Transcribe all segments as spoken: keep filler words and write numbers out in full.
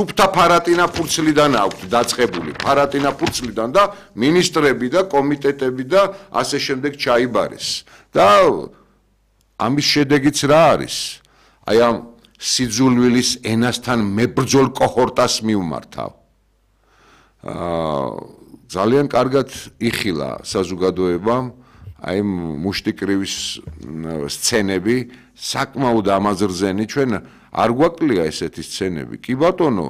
Უბთა ფარატინა ფურცლიდან აქვთ დაწყებული ფარატინა ფურცლიდან და მინისტრები და კომიტეტები და ასე შემდეგ ჩაიბარეს და ამის შედეგიც რა არის აი ამ სიძულვილის ენასთან მებრძოლ კოჰორტას მიუმართავ აა ძალიან კარგად იხილა საზოგადოებამ აი მუშტიკრივის სცენები საკმაოდ ამაზრზენი ჩვენ არ გვაკლია ესეთი სცენები კი ბატონო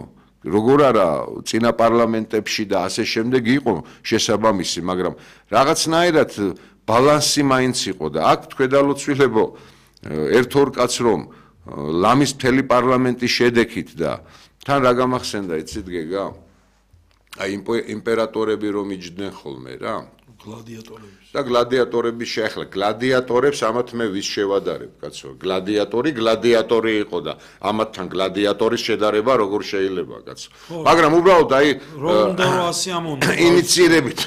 როგორ არა წინა პარლამენტებში და ასე შემდეგ იყო შესაბამისი მაგრამ რაღაცნაირად ბალანსი მაინც იყო და აქ თქვენდალოცვილებო ერთ ორ კაც რომ ლამის მთელი პარლამენტი შედექით და თან რა გამახსენდა იცით გეგა აი იმპერატორები რომ იჯდნენ ხოლმე რა გლადიატორები და გლადიატორები შეეხლა გლადიატორებს ამათ მე ვის შევადარებ კაცო გლადიატორი გლადიატორი იყო და ამათთან გლადიატორის შედარება როგორ შეიძლება კაცო მაგრამ უბრალოდ აი რომ და ასი ამონდა ინიციირებით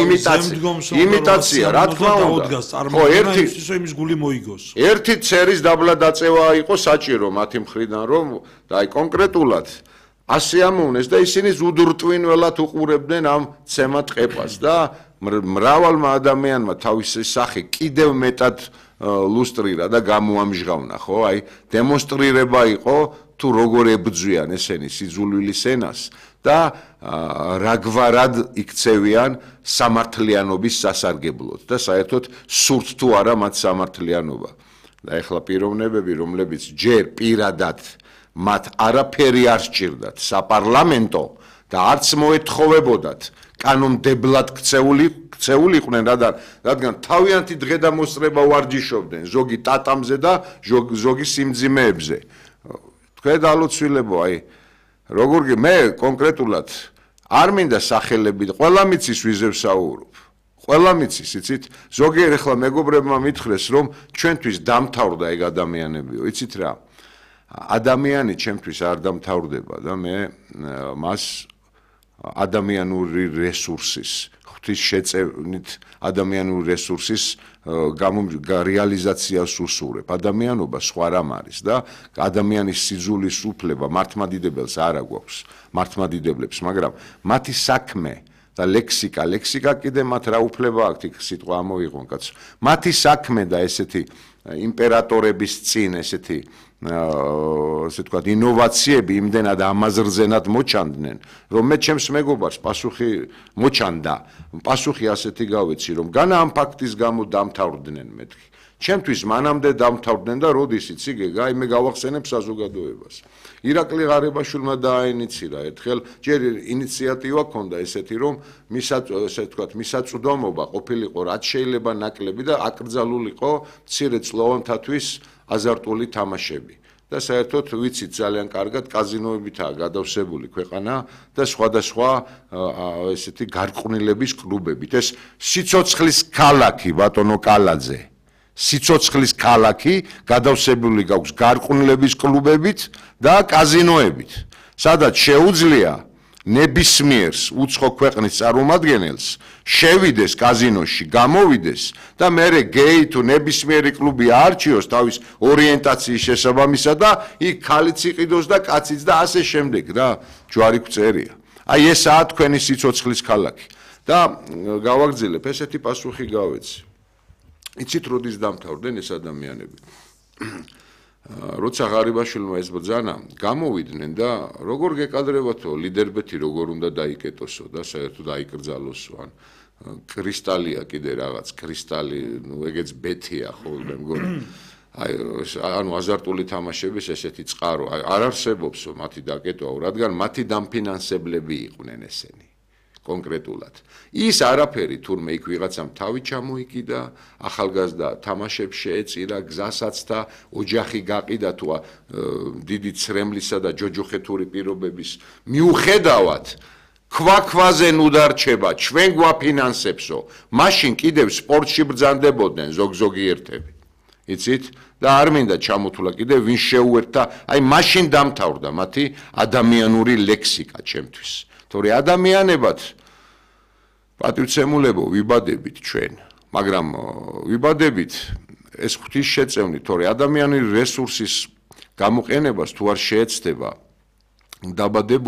იმიტაცია იმიტაცია რა თქმა უნდა ხო ერთი იმის გული მოიგოს ერთი ცერის დაბლა დაწევა იყო საჭირო მათი მხრიდან რომ და აი კონკრეტულად ასე ამოვნეს და ისინი ზუდრტვინველად უყურებდნენ ამ ცემატ ყეპას და მრავალმა ადამიანმა თავისი სახე კიდევ მეტად ლუსტრირა და გამოამჟღავნა ხო აი დემონსტრირება იყო თუ როგორ ებრძვიან ესენი სიძულვილის ენას და რაგვარად იქცევიან სამართლიანობის სასარგებლოდ და საერთოდ სურთ თუ არა მათ სამართლიანობა და ეხლა პიროვნებები რომლებიც ჯერ პირადად მათ არაფერი არ სჭირდათ საპარლამენტო და არც მოეთხოვებოდათ კანონმდებლად ქცეული ქცეულიყვნენ რადგან თავიანთი დღედამოსწრება ვარჯიშობდნენ ზოგი ტატამზე და ზოგი სიმძიმეებზე თქვენ დალოცვილებო აი როგორ მე კონკრეტულად არ მინდა სახელები ყველა მიცის ვიზე ვსაუბრობ ყველა მიცის იცით ზოგიერთ ახლა მეგობრებმა მითხრეს რომ ჩვენთვის დამთავრდა ეგ ადამიანებიო იცით რა ადამიანი ჩემთვის არ დამთავრდება და მე მას ადამიანური რესურსის ღვთის შეწევნით ადამიანური რესურსის რეალიზაციას უსურვებ ადამიანობა სხვა რამ არის და ადამიანის სიძულის უფლება მართლმადიდებელს არ აქვს მართლმადიდებლებს მაგრამ მათი საქმე და ლექსიკა ლექსიკა კიდე მათ რა უფლება აქვთ იქ სიტყვა ამოიღონ კაცო მათი საქმე და ესეთი იმპერატორების წინ ესეთი ასე ვთქვათ ინოვაციები იმდენად ამაზრზენად მოჩანდნენ რომ მე ჩემს მეგობარს პასუხი მოჩანდა პასუხი ასეთი გავეცი რომ განა ამ ფაქტის გამო დამთავრდნენ მეთქი ჩემთვის მანამდე დამთავრდნენ და როდის იცი გეგა აი მე გავახსენებ საზოგადოებას ირაკლი ღარიბაშვილმა დააინიცირა ერთხელ ჯერ ინიციატივა ჰქონდა ესეთი რომ ასე ვთქვათ მისაწვდომობა ყოფილიყო რაც შეიძლება ნაკლები და აკრძალულიყო მცირე წლოვანთათვის აზარტული თამაშები და საერთოდ ვიცით ძალიან კარგად კაზინოებითაა გადავსებული ქვეყანა და სხვადასხვა ესეთი გარყვნილების კლუბებით ეს სიცოცხლის ქალაქი ბატონო კალაძე სიცოცხლის ქალაქი გადავსებული გაქვს გარყვნილების კლუბებით და კაზინოებით სადაც შეუძლია ნებისმიერს უცხო ქვეყნის წარმომადგენელს შევიდეს კაზინოში გამოვიდეს და მერე გეი თუ ნებისმიერი კლუბი აარჩიოს თავის ორიენტაციის შესაბამისად და იქ ქალიც იყიდოს და კაციც და ასე შემდეგ რა ჯვარი გწერია აი ესაა თქვენი სიცოცხლის ქალაქი და გავაგრძელებ ესეთი პასუხი გავეცი იცით როდის დამთავრდნენ ეს ადამიანები როცა ღარიბაშვილმა ეს ბრძანა გამოვიდნენ და როგორ გეკადრებათო ლიდერბეთი როგორ უნდა დაიკეტოსო და საერთოდ აიკრძალოსო ან კრისტალია კიდე რაღაც კრისტალი ნუ ეგეც ბეთია ხო მე მგონი აი ანუ აზარტული თამაშების ესეთი წყარო არ არსებობსო მათი დაკეტვა რადგან მათი დამფინანსებლები იყვნენ ესენი კონკრეტულად ის არაფერი თურმე იქ ვიღაცამ თავი ჩამოიკიდა ახალგაზრდა თამაშებს შეეწირა გზასაც და ოჯახი გაყიდა თუ დიდი ცრემლისა და ჯოჯოხეთური პირობების მიუხედავად ქვაქვაზე ნუ დარჩება ჩვენ გვაფინანსებსო მაშინ კიდევ სპორტში ბრძანდებოდნენ ზოგ-ზოგიერთები იცით და არ მინდა ჩამოთვლა კიდევ ვინ შეუერთდა აი მაშინ დამთავრდა მათი ადამიანური ლექსიკა ჩემთვის თორე ადამიანებად პატივცემულებო ვიბადებით ჩვენ მაგრამ ვიბადებით ეს ღვთის შეწევნით თორე ადამიანური რესურსის გამოყენებას თუ არ შეეცდება დაბადებული